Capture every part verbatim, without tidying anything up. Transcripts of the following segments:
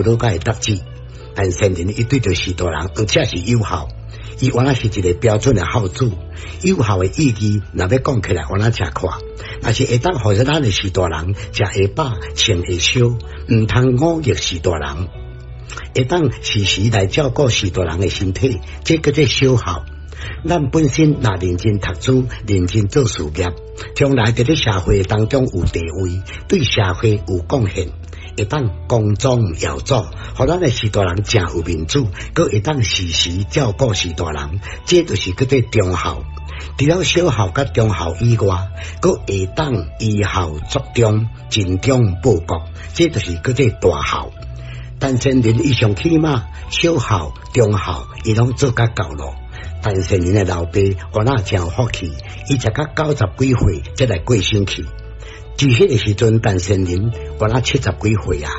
魯甲的搭子。陳仙人伊對著序大人，而且是友孝。伊原來是一个標準的孝子。友孝的意義，若欲講起來，原來誠闊。若是會當予咱的序大人食會飽、穿會燒，毋通忤逆序大人，會當時時來照顧序大人的身體，這叫做小孝。咱本身若認真讀書、認真做事業，將來佇咧社會當中有地位，對社會有貢獻，會當光宗耀祖，予咱的序大人誠有面子，閣會當時時照顧序大人，這就是叫做忠孝。除了小孝佮中孝以外，閣會當移孝作忠，盡忠報國，這就是叫做大孝。陳仙人伊上起碼小孝、中孝，伊攏做甲夠囉。陳仙人的老爸原來誠有福氣，伊食甲九十幾歲才來過身去。佇彼個時陣，陳仙人原來七十幾歲啊。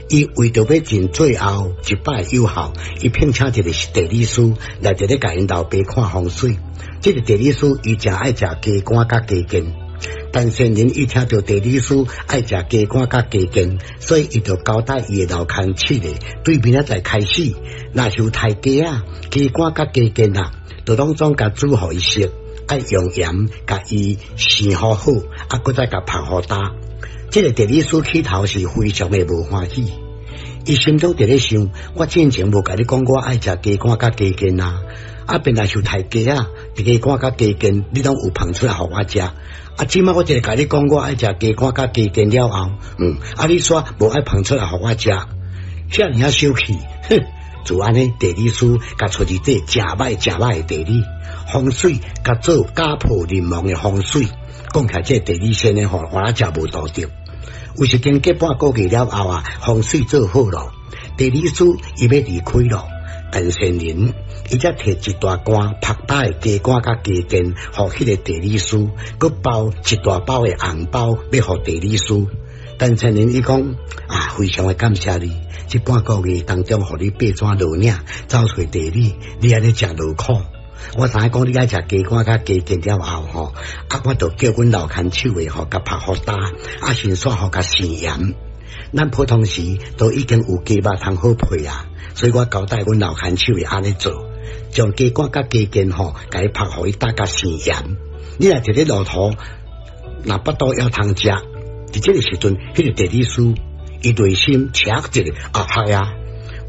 伊為著欲盡最後一擺友孝，伊聘請一個地理師來佇咧共𪜶老爸看風水。這個地理師伊誠愛食雞肝佮雞腱。陳仙人伊聽著地理師愛食雞肝佮雞腱，所以伊就交代伊的老牽手的，對明仔載開始，若是有刣雞仔、雞肝佮雞腱啊，就攏總共煮予伊食，愛用鹽共伊生予好，啊，閣再共曝予焦。這個地理師起頭是非常的無歡喜，伊心中佇咧想：我進前無共你講我愛食雞肝佮雞腱啊，啊，便來是刣雞仔，雞肝佮雞腱，你攏有烹出來予我食。啊，這擺我一个共你講我愛食雞肝佮雞腱了後，嗯，啊，你煞無愛烹出來予我食，遐爾仔小氣，哼！就按呢，地理師共出一塊誠歹誠歹的地理風水，共做家破人亡的風水。講起來，這個地理先生吼，原來誠無道德。有時經過半個月了後啊，風水做好囉，地理師伊欲離開囉，陳仙人伊才提一大罐曝焦的雞肝佮雞腱，予彼个地理師，閣包一大包的紅包，欲予地理師。陳仙人伊講啊，非常的感謝你，這半個月當中，予你爬山落嶺，走揣地理，你按呢誠勞苦。我知影講你愛食雞肝佮雞腱了後吼，啊，我就叫阮老牽手的吼，共曝予焦，啊，先煞予共生鹽。咱普通時都已經有雞肉通好配啊，所以我交代阮老牽手的按呢做，將雞肝佮雞腱吼，共伊曝予伊焦佮生鹽。你若佇咧路途，若腹肚枵通食，佇這个時陣，彼个地理師伊內心捙一下啊，係啊，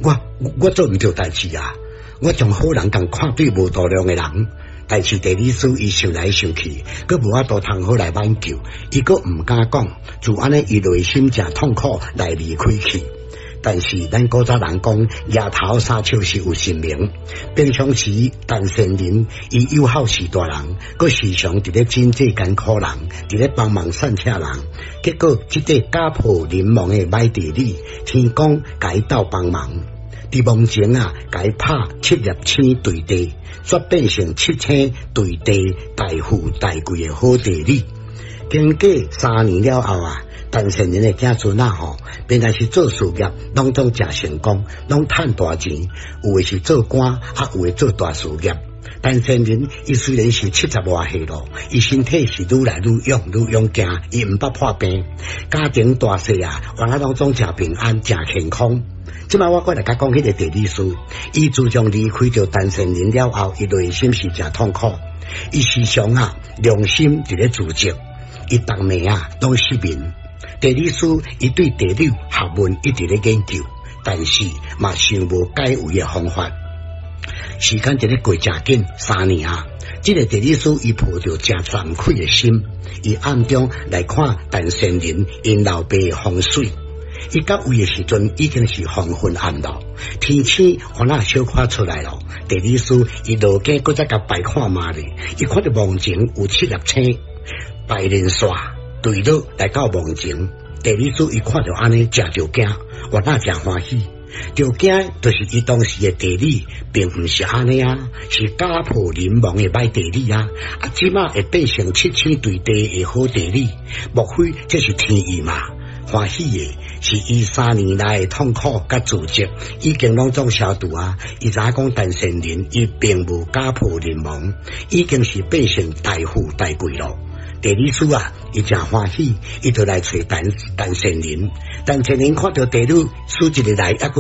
我我做毋對代誌啊！我將好人共看對無度量的人，但是地理師伊想來想去，閣無法度通好來挽救，伊閣毋敢講，就按呢伊內心誠痛苦來離開去。但是咱古早人講，額頭三尺是有神明。平常時陳仙人伊友好序大人，閣時常佇咧賑濟艱苦人，佇咧幫忙散赤人。結果這個家破人亡的歹地理，天公共伊鬥幫忙。佇夢前啊，共伊拍七粒星墜地，煞變成七星墜地大富大貴的好地理。經過三年了後啊，陳仙人的子孫仔吼，本來是做事業，攏總誠成功，攏趁大錢。有的是做官，啊，有的做大事業。陳仙人伊雖然是七十外歲囉，伊身體是愈來愈勇，愈勇健，伊毋捌破病，家庭大細啊，原來攏總誠平安，誠健康。這擺我閣來共講彼个地理師，伊自從離開著陳仙人了後，伊內心是誠痛苦，伊時常啊良心佇咧自責，伊逐暝啊攏失眠。地理師伊對地理學問一直咧研究，但是嘛想無解圍的方法。時間佇咧過誠緊，三年啊，這个地理師伊抱著誠慚愧的心，伊暗中來看陳仙人𪜶老爸的風水。伊到位的時陣已經是黃昏暗囉，天星原來小可出來囉。地理師伊落井閣再共拜看覓咧，伊看著夢前有七粒星排連線墜落來到夢前。地理師伊看著按呢，誠著驚，原來誠歡喜。著驚就是伊當時的地理並毋是按呢啊，是家破人亡的歹地理啊！啊，這擺會變成七星墜地的好地理，莫非這是天意嘛？歡喜的是伊三年來的痛苦佮自責已經攏總消除啊！伊知影講陳仙人伊並無家破人亡，已經是變成大富大貴囉。地理師啊，伊誠歡喜，伊就來揣陳陳善人。陳善人看著地理師一日來，猶閣